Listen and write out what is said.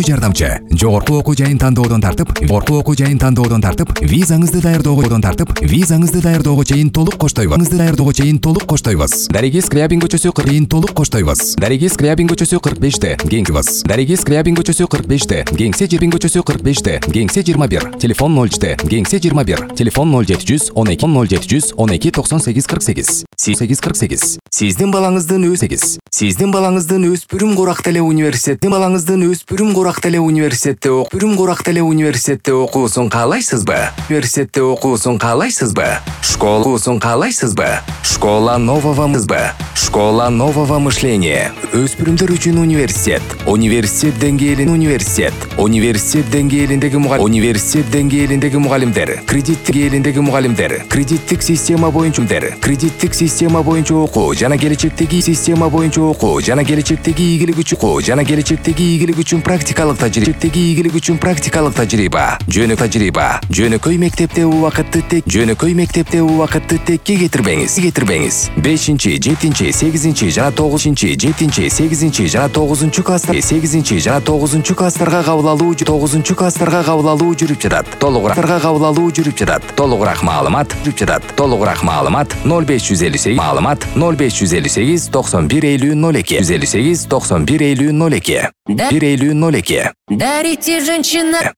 жардамчы. Жогорку окуу жайын тандоодон тартып, визаңызды даярдоого чейин толук коштойбуз. Дариги Скрябин көчөсү 45-те, Кеңсебиз. Дариги Скрябин көчөсү 45-те, Кеңсе Жербин көчөсү 45-те, Кеңсе 21, телефон 0-те, Кеңсе 21, телефон 0700 12 9848. Сиздин балаңыздын өспүрүм корак теле университетте окуусун каалайсызбы? Школа окуусун каалайсызбы? Школа нового мышления. Өспүрүмдөр үчүн университет. Университет деңгээлиндеги мугалимдер, кредиттик система боюнча окуу жана келечектеги ийгилик үчүн практикалык тажрыйба. Жөнөкөй мектепте убакытты текке кетирбеңиз. 5-7-8 жана 9 класстарга кабыл алуу жүрүп жатат. Толугураак маалымат 0558 91 50 02. Дарите женщина.